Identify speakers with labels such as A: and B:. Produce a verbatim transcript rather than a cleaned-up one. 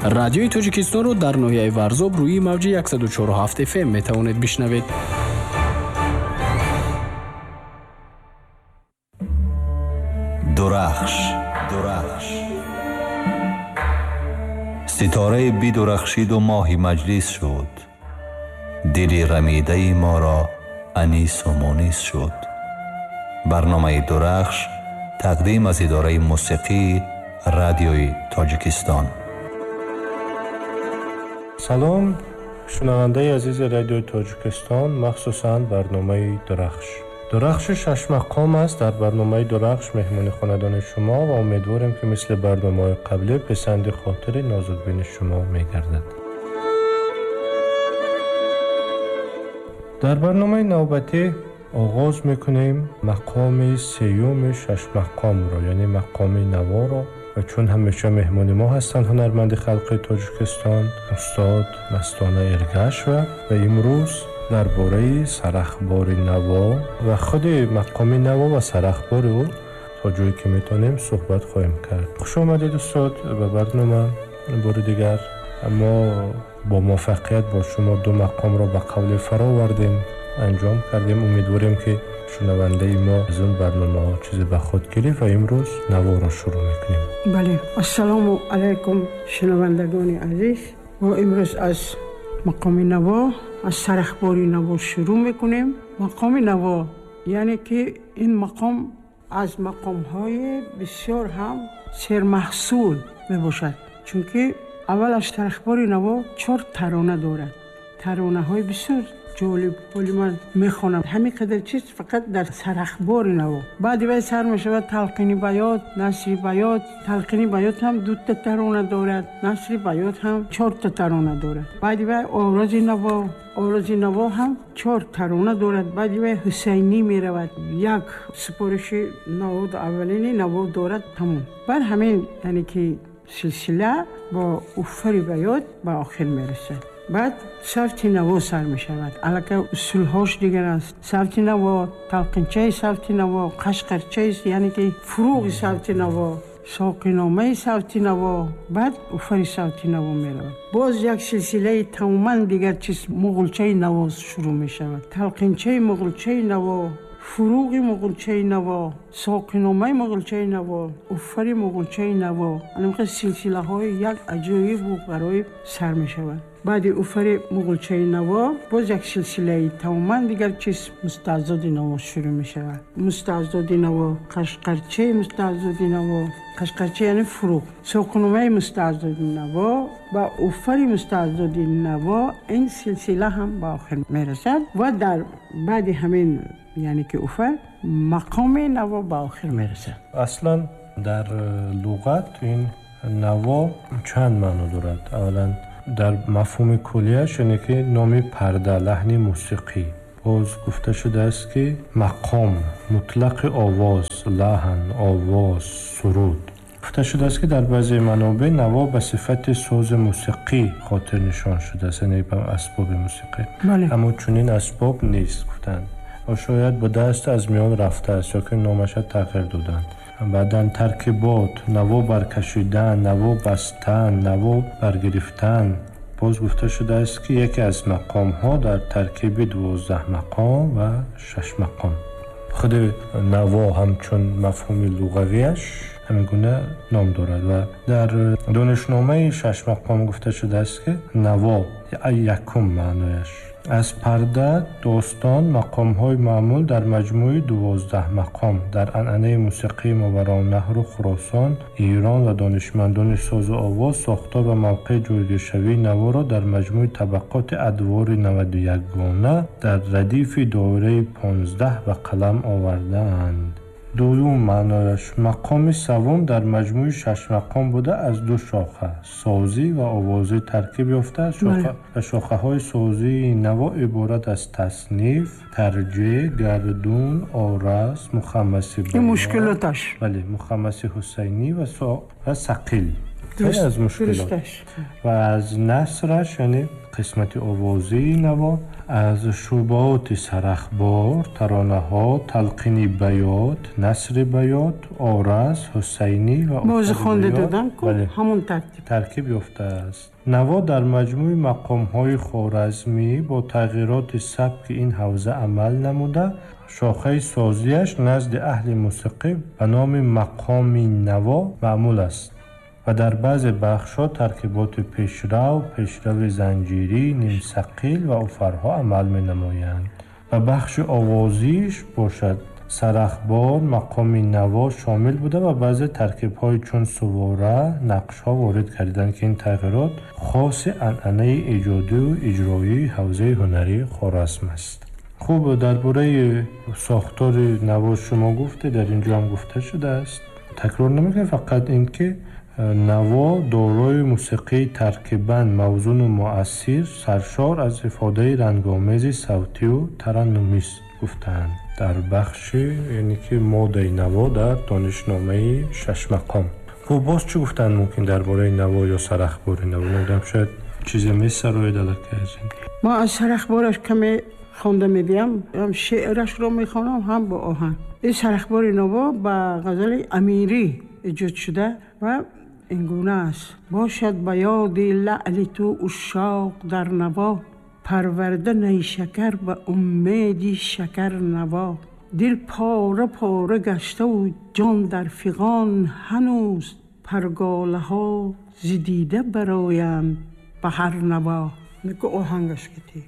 A: Радиои Тоҷикистонро дар ноҳияи Варзоб рӯи мавҷи яксаду чору ҳафт эф эм метавонед бишнавед.
B: Дурахш, дурахш. Ситораи бидурахшиду моҳи маҷлис шуд. Дили рамидаи моро анису мунис шуд. Барномаи Дурахш тақдим аз идораи мусиқии Радиои Тоҷикистон.
C: Салом, шунавандаи азизи Радиои Тоҷикистон, махсусан барномаи Дурахш. Дурахши шашмақом аст. Дар барномаи Дурахш меҳмони хонадони шумо ва умедворем, ки мисли барномаҳои қаблӣ писанди хотири нозукбини шумо мегардад. Дар барномаи навбатӣ оғоз мекунем мақоми сеюми шашмақомро, яъне мақоми наворо. Ва чун ҳамеша меҳмони мо ҳастанд ҳунарманди халқи Тоҷикистон устод Мастона Эргашева ва имрӯз дар бораи сарахбори наво ва худи мақоми наво ва сарахбори ӯ то ҷое ки метавонем суҳбат хоҳем кард. Хуш омадед устод ба барнома бори дигар. Мо бо муваффақият бо шумо ду мақомро ба қавле фаровардем, анҷом кардем. Умедворем, ки шунавандаи мо аз он барномаҳо чизе ба худ гирифт ва имрӯз наворо шурӯъ мекунем.
D: Бале, ассалому алайкум шунавандагони азиз. Мо имрӯз аз мақоми наво, аз сарахбори наво шурӯъ мекунем. Мақоми наво, яъне ки ин мақом аз мақомҳои бисёр ҳам сермаҳсул мебошад, чунки аввал аз сарахбори наво чор тарона дорад. Таронаҳои бисёр ҷолиб. Ҳоли ман мехонам ҳамин қадар чиз фақат дар сарахбори наво. Баъди вай сар мешавад талқини баёт, насри баёт. Талқини баёт ҳам дута тарона дорад, насри баёт ҳам чорта тарона дорад. Баъди вай орози наво, орози наво ҳам чор тарона дорад. Баъди вай ҳусайнӣ меравад, як супориши наво, аввалини наво дорад, тамом. Баъд ҳамин, яъне ки силсила бо уфари баёт ба охир мерасад. Баъд савти наво сар мешавад. Аллакай усулҳош дигар аст. Савти наво, талқинчаи савти наво, қашқарчаи, яъне ки фурӯғи савти наво, соқиномаи савти наво, баъд уфари савти наво меравад. Боз як силсилаи тамоман дигар чиз, муғулчаи наво шурӯъ мешавад. Талқинчаи муғулчаи наво, фурӯғи муғулчаи наво, соқиномаи муғулчаи наво, уфари муғулчаи наво. Ана силсилаҳои як аҷоибу ғароиб сар мешавад. Баъди уфари муғулчаи наво боз як силсилаи тамоман дигар чиз, мустаъзоди наво шурӯъ мешавад. Мустаъзоди наво, қашқарчаи мустаъзоди наво, қашқарча яъне фурӯғ, соқиномаи мустаъзоди наво ва уфари мустаъзоди наво. Ин силсила ҳам ба охир мерасад ва дар баъди ҳамин, яъне ки уфар, мақоми наво ба охир мерасад.
C: Аслан дар луғат ин наво чанд маъно дорад. Аввалан дар мафҳуми куллияш, яъне ки номи парда, лаҳни мусиқӣ. Боз гуфта шудааст, ки мақом, мутлақи овоз, лаҳн, овоз, суруд. Гуфта шудааст, ки дар баъзе манобеъ наво ба сифати сози мусиқӣ хотирнишон шудааст, яъне ба асбоби мусиқӣ. Аммо чунин асбоб нест, гуфтанд. Шояд будааст, аз миён рафтааст ё ки номаша тағйир доданд. Баъдан таркибот, наво баркашидан, наво бастан, наво баргирифтан. Боз гуфта шудааст, ки яке аз мақомҳо дар таркиби дувоздаҳ мақом ва шаш мақом. Худи наво ҳамчун мафҳуми луғавиаш ҳамин гуна ном дорад ва дар донишномаи шаш мақом гуфта шудааст, ки наво якум маънояш аз парда, достон, мақомҳои маъмул дар маҷмӯи дувоздаҳ мақом дар анъанаи мусиқии Мовароуннаҳру Хуросон, Эрон ва донишмандони созу овоз сохтор ва мавқеи ҷойгиршавии наворо дар маҷмӯи табақоти адвори наваду якгона дар радифи доираи понздаҳ ба қалам овардаанд. Дуюм маънояш мақоми севум дар маҷмӯи шаш мақом буда аз ду шоха, созӣ ва овозӣ таркиб ёфтааст. Ва шохаҳои созии наво иборат аз тасниф, тарҷеҳ, гардун, орас, мухаммаси
D: ин мушкилоташ.
C: Бале, мухаммаси ҳусайнӣ ва сақил. Хеле аз мушкилот. Ва аз насраш, яъне қисмати овозии наво, Аз шуъбаоти сарахбор таронаҳо, талқини баёт, насри баёт, ораз, ҳусайнӣ ва
D: боз хонда додам ку ҳамон тартиб
C: таркиб ёфтааст. Наво дар маҷмӯи мақомҳои хоразмӣ бо тағйироти сабки ин ҳавза амал намуда, шохаи созияш назди аҳли мусиқӣ ба номи мақоми наво маъмул аст ва дар баъзе бахшҳо таркиботи пешрав, пешрави занҷирӣ, нимсақил ва уфарҳо амал менамоянд. Ба бахши овозиш бошад, сарахбор мақоми наво шомил буда ва баъзе таркибҳои чун сувора, нақшҳо ворид карданд, ки ин тағйирот хоси анъанаи эҷодию иҷроии ҳавзаи ҳунарии Хоразм аст. Хуб, дар бораи сохтори наво шумо гуфтед, дар ин ҷо ҳам гуфта шудааст. Такрор намекунем, фақат ин ки наво дорои мусиқии таркибан мавзуну муассир, саршор аз ифодаи рангомези савтию тараннумист гуфтаанд дар бахши, яъне ки моддаи наво дар донишномаи шашмақом. Хуб, боз чӣ гуфтанд мумкин дар бораи наво ё сарахбори наво? Намедонам, шояд чизе месароед аллакай аз ин.
D: Мо аз сарахбораш каме хонда медиҳам, ҳам шеърашро мехонам, ҳам бо оҳанг. Ин сарахбори наво ба ғазали Амирӣ эҷод шуда ва ин гуна аст: бошад ба ёди лаъли ту ушшоқ дар наво, парварда найшакар ба умеди шакар наво, дил пора пора гаштаву ҷон дар фиғон ҳанӯз, парголаҳо зи дида бароянд ба ҳар наво. Неку оҳангаш кити.